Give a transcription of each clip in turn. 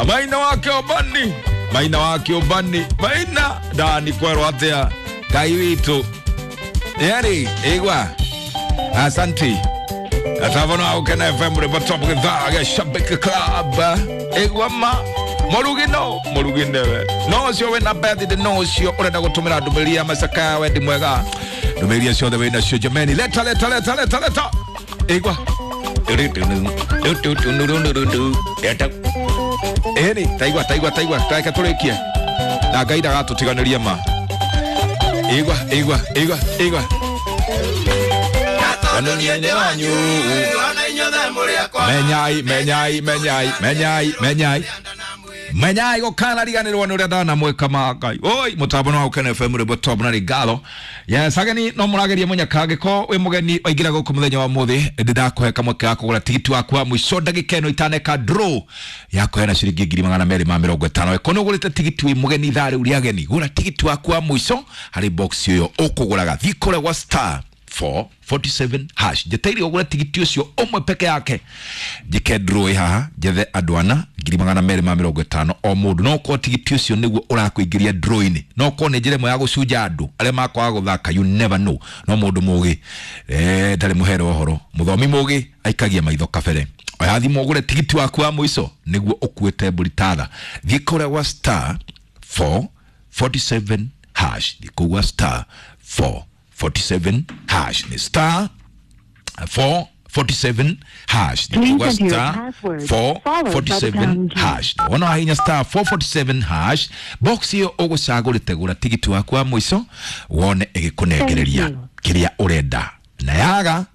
Maina wake obani, maina wake obani, maina ndani kwerwo atia Ngai witũ. Yeri igwa, asanti atavono aukena FM rĩmbo top gĩthaa gĩa Shabiki Club. Igwa ma mũrugi no mũrugi nĩwe no ũcio wĩna birthday, no ũcio ũrenda gũtũmĩra ndũmĩrĩri ya macakaya wendi mwega, ndũmĩrĩri ciothe wĩnacio jameni, leta leta leta leta leta. Igwa ĩni taigua taigua taigua taika tũrĩkie na Ngai ndagatũtiganĩria ma. Igwa igwa igwa igwa. Menyai menyai menyai menyai menyai menyai gũkana riganĩrwo nĩ ũrĩa ndanamwĩka ma Ngai oi mũtambo no Ukena FM rĩmwe top na rigalo. Yes, ageni no mũrageria mũnyaka angĩkorwo wĩ mũgeni waingĩra gũkũ mũthenya wa mũthĩ, ndĩndakũhe kamweke ga kũgũra tigiti waku wa mũico ndagĩka ĩno itaneka draw ya kũheana ciringi 250,000. Ĩkorwo nĩ ũgũrĩte tigiti wĩ mũgeni ithaa rĩu rĩa ageni, gũra tigiti waku wa mũico harĩ box ĩyo ũkũgũraga. Thiĩ kũrĩa gwa star 447 hash, njeteire ũgũre tigiti ũcio ũmwe peke yake, njĩke draw ĩ haha njethe andũ ana 250,000 o mũndũ. No ũkorwo tigiti ũcio nĩguo ũrakũingĩria draw-inĩ, no ũkorwo nĩ njĩra ĩmwe ya gũcunja andũ arĩa makwaga gũthaka, you never know. No mũndũ mũgĩ ndarĩ mũhere ũhoro, mũthomi mũgĩ aikagia maitho kabere. Oya thimũ ũgũre tigiti waku wa mũico nĩguo ũkuĩte mbũri tatha. Thiĩ kũrĩa gwa star 447 hash, thiĩ kũu gwa star 447 hash, ni star 447 hash. Please Ni enter your star password, followed by the 447 pound key. hash. Wona wahinya star 447 hash, box iyo ũgũcagũrĩte gũra tigiti waku wa mũico wone ĩgĩkũnengereria Thank you. kĩrĩa ũrenda, na yaga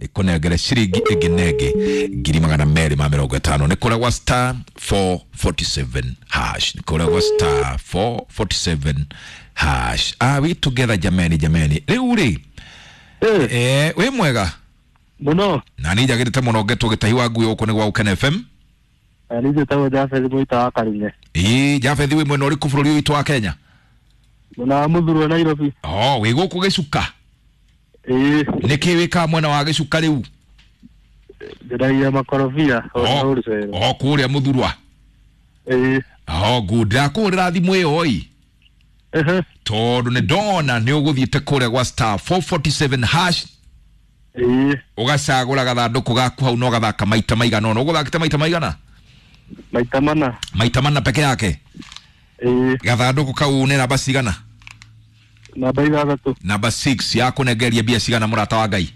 ĩkũnengere ciringi ĩngĩ na ĩngĩ 250,000. Nĩ kũrĩa gwa star 447 hash, nĩ kũrĩa gwa star 447 hash. Are we together jameni? Jameni, rĩu rĩ, wĩ mwega? Muno. Na niĩ njagĩrĩte mũno ngetwo gĩtahi wa ngui gũkũ nĩ gwa Ukena FM. Niĩ njĩtagwo Jafeth Mũita wa Karume. Ĩĩ Jafeth, wĩ mwena ũrĩkũ bũrũri ũyũ witũ wa Kenya? Mwena wa Mũthurwa, Nairobi. Oh, wĩ gũkũ Gĩcuka? Ĩĩ. Nĩkĩ wĩkaga mwena wa Gĩcuka rĩu? Njendagia makorobia Oh, wholesale. oh, kũrĩa Mũthurwa? Ĩĩ. Oh, good. Ndakũhũrĩra thimũ ĩyo ĩ Ehe. tondũ nĩ ndona nĩ ũgũthiĩte kũrĩa gwa star 447 hash, Ĩĩ. ũgacagũra gathandũkũ gaku hau na ũgathaka maita maigana ũna. Ũgũthakĩte maita maigana? Maita mana. Maita mana peke yake? Ĩĩ. Gathandũkũ kau nĩ namba cigana? Namba 6. Namba 6 yakũnengeria mbia cigana, mũrata wa Ngai?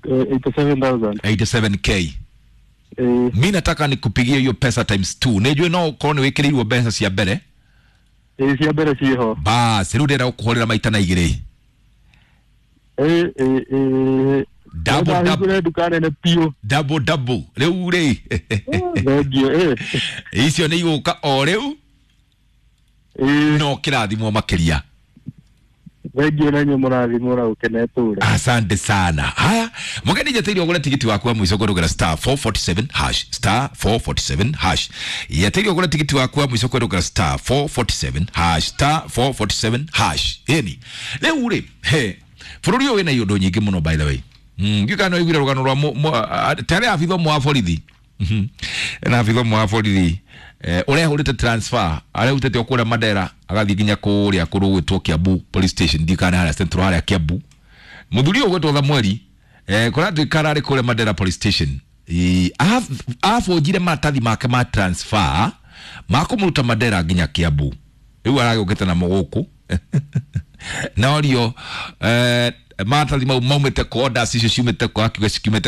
87,000. 87K? Ĩĩ. Mi nataka nikupigie hiyo pesa times 2, nĩnjũĩ no ũkorwo nĩ wĩkĩrĩirwo mbeca cia mbere. Ĩĩ, cia mbere ciĩho. Bas, rĩu ndĩrenda gũkũhũrĩra maita na igĩrĩ. Ĩĩ ĩĩ ĩĩ. Double, double. Ndahingũre nduka nene biũ. Double double rĩu rĩ. Thengiũ ĩĩ. Icio nĩ igũka o rĩu. Ĩĩ. No kĩrathimwo makĩria. Thengiũ na inyuĩ mũrathimwo na gũkena ĩtũre. Asante sana. Haya, mũgeni, njeteire ũgũre tigiti waku wa mũico kũrũgĩra star 447 hash, star 447 hash. Yeteire ũgũre tigiti waku wa mũico kũrũgĩra star 447 hash, star 447 hash. Ĩni rĩu rĩ, he bũrũri ũyũ wĩna iũndũ nyingĩ mũno, by the way. Ndiũĩ kana nĩwaiguire rũgano rwa tarĩ abitha ũmwe wa borithi. Na abitha ũmwe wa borithi ũrehũrĩte transfer, arehutĩte o kũrĩa Mandera agathiĩ nginya kũrĩa kũrũ gwĩtwo Kiambu police station, ndiũĩ kana harĩa central harĩa Kiambu. Mũthuri ũyũ ũgwĩtwo Samueli kũratuĩka ararĩ kũrĩa Mandera police station. Abũnjire maratathi make ma transfer ma kũmũruta Mandera nginya Kiambu, rĩu aragĩũkĩte namo gũkũ norio maratathi mau maumĩte kũ, orders icio ciumĩte kũ, akiuga cikiumĩte